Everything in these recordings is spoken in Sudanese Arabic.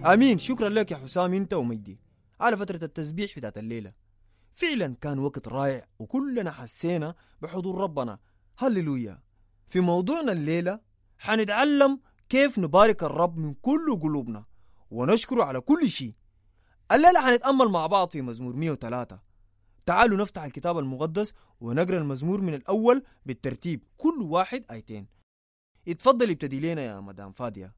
امين. شكرا لك يا حسام انت ومجدي على فترة التسبيح بتاعت الليلة. فعلا كان وقت رائع وكلنا حسينا بحضور ربنا. هللويا. في موضوعنا الليلة حنتعلم كيف نبارك الرب من كل قلوبنا ونشكره على كل شيء. الليلة حنتأمل مع بعض في مزمور 103. تعالوا نفتح الكتاب المقدس ونقرأ المزمور من الأول بالترتيب، كل واحد آيتين. اتفضل ابتدي لنا يا مدام فادية.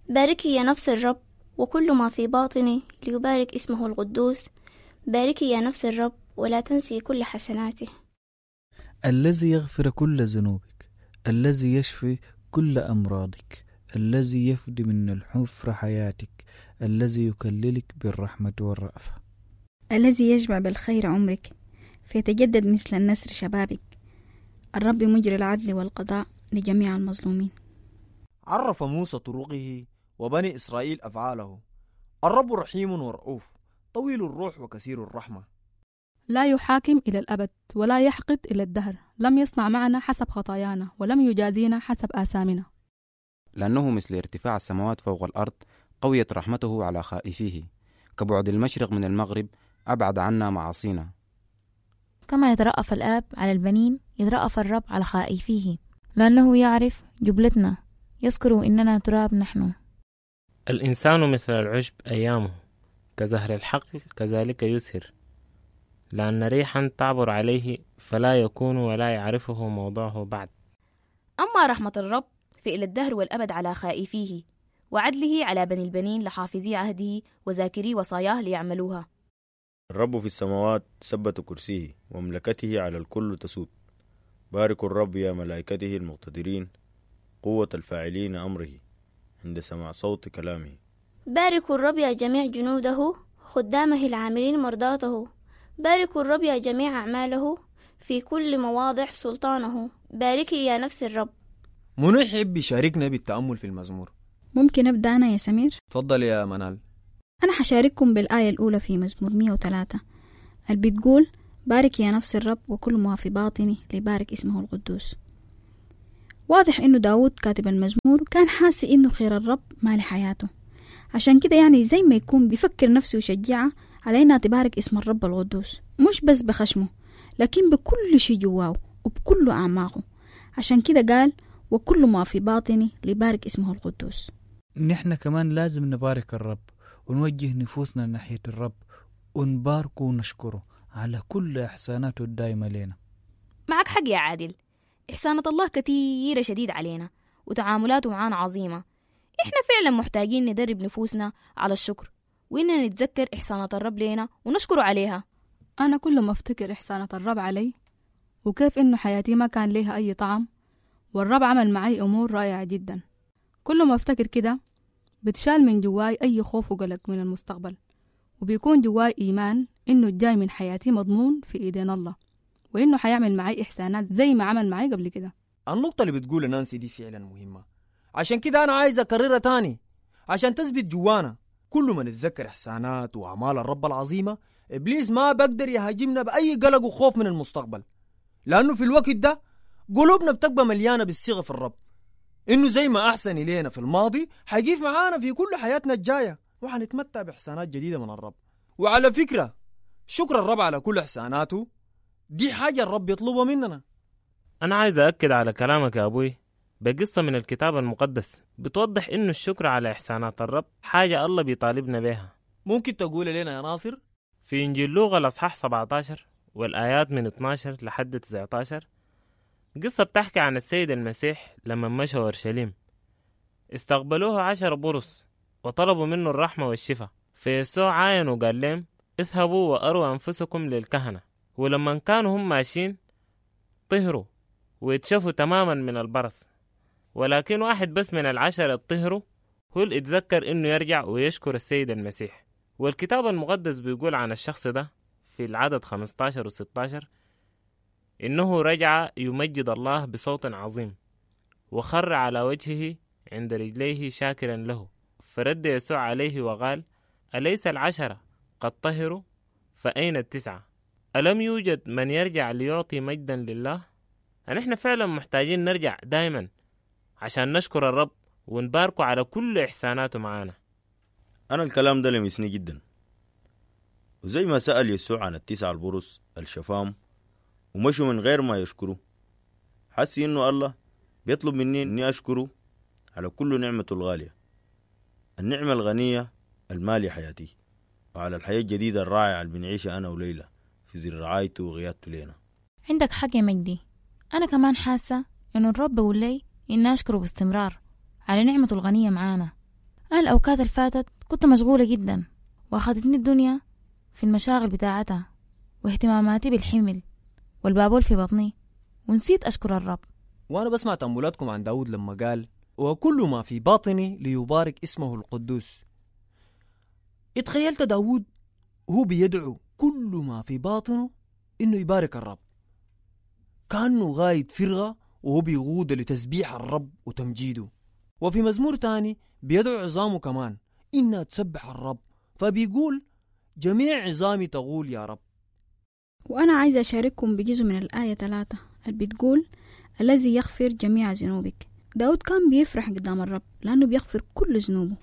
باركي يا نفس الرب وكل ما في باطني ليبارك اسمه القدوس. باركي يا نفس الرب ولا تنسي كل حسناته. الذي يغفر كل ذنوبك، الذي يشفي كل أمراضك، الذي يفدي من الحفرة حياتك، الذي يكللك بالرحمة والرأفة. الذي يشبع بالخير عمرك فيتجدد مثل النسر شبابك. الرب مجري العدل والقضاء لجميع المظلومين. عرف موسى طرقه وبني إسرائيل أفعاله. الرب رحيم ورؤوف، طويل الروح وكثير الرحمة. لا يحاكم إلى الأبد ولا يحقد إلى الدهر. لم يصنع معنا حسب خطايانا ولم يجازينا حسب آثامنا. لأنه مثل ارتفاع السماوات فوق الأرض قويت رحمته على خائفيه. كبعد المشرق من المغرب أبعد عنا معاصينا. كما يترأف الآب على البنين يترأف الرب على خائفيه، لأنه يعرف جبلتنا، يذكر إننا تراب نحن. الإنسان مثل العشب أيامه، كزهر الحقل كذلك يزهر، لأن ريحا تعبر عليه فلا يكون ولا يعرفه موضعه بعد. أما رحمة الرب فإلى الدهر والأبد على خائفيه، وعدله على بني البنين لحافظي عهده وذاكري وصاياه ليعملوها. الرب في السماوات ثبت كرسيه، ومملكته على الكل تسود. باركوا الرب يا ملائكته المقتدرين، قوة الفاعلين أمره عند سماع صوت كلامه. باركوا الرب يا جميع جنوده، خدامه العاملين مرضاته. باركوا الرب يا جميع أعماله في كل مواضع سلطانه. باركي يا نفس الرب. منو يحب يشاركنا بالتأمل في المزمور؟ ممكن أبدأ أنا يا سمير؟ تفضل يا منال. أنا حشارككم بالآية الأولى في مزمور 103 اللي بتقول: بارك يا نفس الرب وكل ما في باطني ليبارك اسمه القدوس. واضح إنه داود كاتب المزمور كان حاسس إنه خير الرب مال حياته، عشان كده يعني زي ما يكون بيفكر نفسه ويشجعها على إنها تبارك اسم الرب القدوس، مش بس بخشمه لكن بكل شي جواه وبكل أعماقه. عشان كده قال: وكل ما في باطني ليبارك اسمه القدوس. نحن كمان لازم نبارك الرب ونوجه نفوسنا ناحية الرب ونباركه ونشكره على كل إحساناته الدائمة لنا. معك حق يا عادل، إحسانة الله كثيرة شديد علينا وتعاملاته معانا عظيمة. إحنا فعلا محتاجين ندرب نفوسنا على الشكر، وإننا نتذكر إحسانة الرب لنا ونشكره عليها. أنا كل ما أفتكر إحسانة الرب علي وكيف إنه حياتي ما كان ليها أي طعم والرب عمل معي أمور رائعة جدا، كل ما أفتكر كده بتشال من جواي أي خوف وقلق من المستقبل، وبيكون جواي إيمان إنه الجاي من حياتي مضمون في إيدين الله، وإنه حيعمل معي إحسانات زي ما عمل معي قبل كده. النقطة اللي بتقولها نانسي دي فعلا مهمة، عشان كده أنا عايز أكررها تاني عشان تثبت جوانا. كل ما نتذكر إحسانات وأعمال الرب العظيمة، إبليس ما بقدر يهاجمنا بأي قلق وخوف من المستقبل، لأنه في الوقت ده قلوبنا بتبقى مليانة بالثقة في الرب، إنه زي ما أحسن إلينا في الماضي حيقيف معانا في كل حياتنا الجاية، وحنتمتع بإحسانات جديدة من الرب. وعلى فكرة، شكر الرب على كل إحساناته دي حاجة الرب يطلبها مننا. أنا عايز أأكد على كلامك يا أبوي بقصة من الكتاب المقدس بتوضح إنه الشكر على إحسانات الرب حاجة الله بيطالبنا بها. ممكن تقول لنا يا ناصر؟ في إنجيل لوقا الأصحاح 17 والآيات من 12 لحد 19، قصة بتحكي عن السيد المسيح لما مشى أورشليم. استقبلوه 10 برص وطلبوا منه الرحمة والشفاء، فيسوع عاين وقال لهم: اذهبوا وأروا أنفسكم للكهنة. ولما كانوا هم ماشيين طهروا ويتشفوا تماما من البرص، ولكن واحد بس من 10 طهروا هو اللي اتذكر انه يرجع ويشكر السيد المسيح. والكتاب المقدس بيقول عن الشخص ده في العدد 15 و16 إنه رجع يمجد الله بصوت عظيم وخر على وجهه عند رجليه شاكرا له. فرد يسوع عليه وقال: أليس 10 قد طهروا؟ فأين 9؟ ألم يوجد من يرجع ليعطي مجدا لله؟ نحن فعلا محتاجين نرجع دايما عشان نشكر الرب ونباركه على كل إحساناته معانا. أنا الكلام ده لمسني جدا. وزي ما سأل يسوع عن التسعة البرص الشفام ومشوا من غير ما يشكروا، حس إنه الله بيطلب مني إني أشكره على كل نعمته الغالية، النعمة الغنية المالية حياتي، وعلى الحياة الجديدة الرائعة اللي بنعيشها أنا وليلى في ظل رعايته وغيادته لينا. عندك حق يا مجدي، أنا كمان حاسة إنه الرب بيقول لي إني أشكره باستمرار على نعمته الغنية معانا. أنا الأوقات اللي فاتت كنت مشغولة جدا، وأخذتني الدنيا في المشاغل بتاعتها واهتماماتي بالحمل والبابول في بطني، ونسيت أشكر الرب. وأنا بسمع تأملاتكم عن داود لما قال وكل ما في باطني ليبارك اسمه القدوس. اتخيلت داود هو بيدعو كل ما في باطنه إنه يبارك الرب، كأنه غاية فرغة وهو بيغود لتسبيح الرب وتمجيده. وفي مزمور تاني بيدعو عظامه كمان إنها تسبح الرب، فبيقول جميع عظامي تقول يا رب. وأنا عايزة أشارككم بجزء من الآية 3 اللي بتقول الذي يغفر جميع ذنوبك. داود كان بيفرح قدام الرب لأنه بيغفر كل ذنوبه،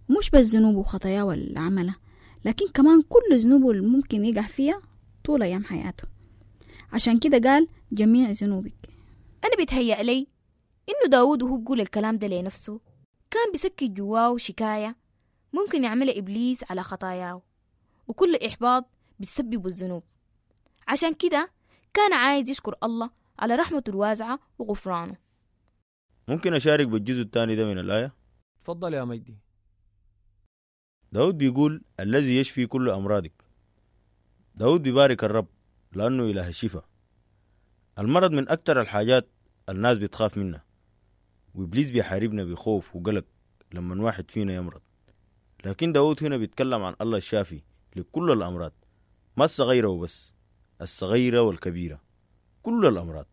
ومش بس ذنوبه وخطاياه اللي عملها، لكن كمان كل ذنوبه اللي ممكن يقع فيها طول أيام حياته. عشان كده قال جميع ذنوبك. أنا بيتهيأ لي إنه داود وهو بيقول الكلام ده لنفسه كان بيسكت جواه شكاية ممكن يعملها إبليس على خطاياه وكل إحباط بتسببه الذنوب. عشان كده كان عايز يشكر الله على رحمته الواسعة وغفرانه. ممكن أشارك بالجزء الثاني ده من الآية؟ تفضل يا مجدي. داود بيقول الذي يشفي كل أمراضك. داود بيبارك الرب لأنه إله الشفاء. المرض من أكثر الحاجات الناس بتخاف منها، وإبليس بيحاربنا بخوف وقلق لما واحد فينا يمرض. لكن داود هنا بيتكلم عن الله الشافي لكل الأمراض، ما الصغيرة وبس، الصغيرة والكبيرة، كل الأمراض.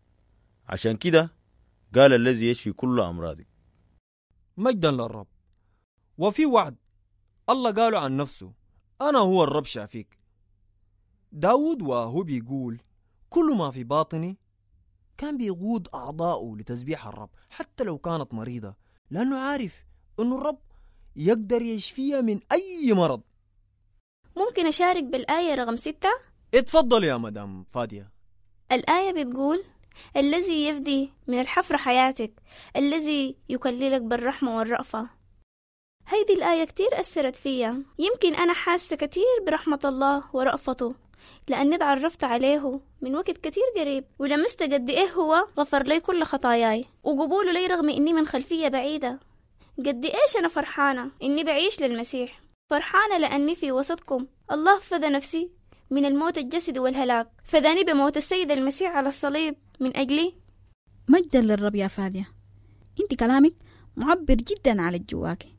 عشان كده قال الذي يشفي كل أمراضك. مجدا للرب. وفي وعد الله قاله عن نفسه أنا هو الرب شافيك. داود وهو بيقول كل ما في باطني كان بيقود أعضاؤه لتسبيح الرب حتى لو كانت مريضة، لأنه عارف أنه الرب يقدر يشفيها من أي مرض. ممكن أشارك بالآية رقم 6؟ اتفضل يا مدام فادية. الآية بتقول الذي يفدي من الحفر حياتك، الذي يكللك بالرحمة والرأفة. هيدي الآية كتير أثرت فيا. يمكن أنا حاسة كتير برحمة الله ورأفته لأني تعرفت عليه من وقت كتير قريب، ولمست قد إيه هو غفر لي كل خطاياي وقبوله لي رغم إني من خلفية بعيدة. قد إيش أنا فرحانة إني بعيش للمسيح، فرحانة لأني في وسطكم. الله فدى نفسي من الموت الجسدي والهلاك، فداني بموت السيد المسيح على الصليب من أجلي. مجدا للرب يا فادية، انت كلامك معبر جدا على جواكي.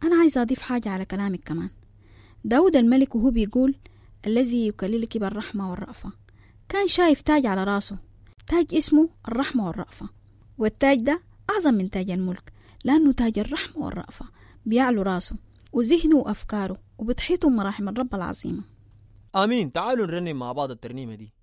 أنا عايزة أضيف حاجة على كلامك كمان. داود الملك وهو بيقول الذي يكللك بالرحمة والرأفة، كان شايف تاج على راسه، تاج اسمه الرحمة والرأفة، والتاج ده أعظم من تاج الملك لأنه تاج الرحمة والرأفة بيعلو راسه وذهنه وأفكاره وبتحيطه مراحم الرب العظيمة. آمين. تعالوا نرنم مع بعض الترنيمة دي.